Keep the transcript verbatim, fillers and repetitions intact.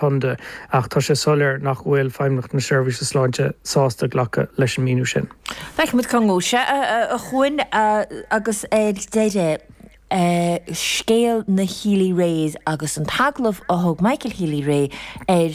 Chontae ach tá sé soiléir nach bhfuil Feidhmeannacht na Seirbhíse Sláinte sásta glacadh leis an míniú sin. Feicfimid cá ngabhfaidh sé a Chuain agus ar deireadh scéal na Healy-Raes agus an t-agallamh a thug Michael Healy-Rae ar